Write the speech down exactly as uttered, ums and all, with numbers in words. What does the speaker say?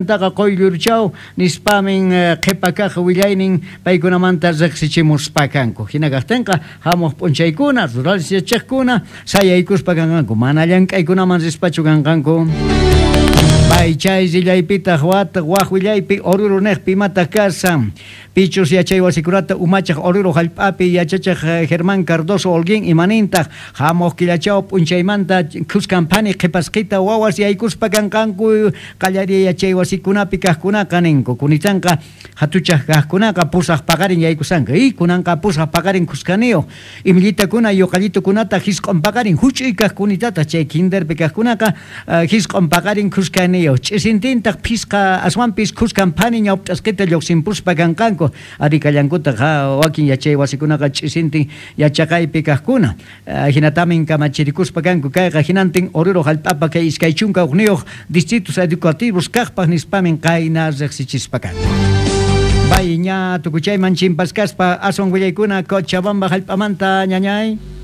Taqa quyllurchaw nispamin qhipa kaq willaynin paykunamanta riqsichimuspa kanku. Hina kaqtinqa hamuq p'unchaykuna rurales yachachiqkuna sayaykuspa kanqanku, mana llank'aykunaman rispachu kanqanku. Pay chay rillaypitaq wata waq willaypi Oruro niqpi imataq kashan. Pichus yachay wasikunata umachaq Oruro hallp'api yachachiq Germán Cardoso Holguín imanintaq hamuq killachaw p'unchaymanta khuskan phani qhipasqita wawas yaykuspa kanqanku qallariy yachay wasikunapi kaqkunaqa ninku. Kunitanqa hatuchaq kaqkunaqa pusaq paqarin yaykusanku. Y kunanqa pusaq paqarin khuskaniyuq imillitakuna yuqallitukunata hisq'un paqarin huch'uy kaqkunitata chay kinderpi kaqkunaqa hisq'un paqarin khuskaniyuq ch'isintintaq phisqa aswanpis khuskan phani ñawpt'asqita lluqsinpuspa kanqanku. Ari kallankutaq wakin yachay wasikunaqa ch'isintin yachaqaypi kaqkuna. Hinatamin kamachirikuspa kanku kayqa hinantin Oruro hallp'apa kay iskay chunka hukniyuq distritos educativos kaqpaq nispamin qayna riqsichispa kanku. Bay ña tukuchayman chimpaskaspa aswan willaykuna Cochabamba hallp'amanta ñañay.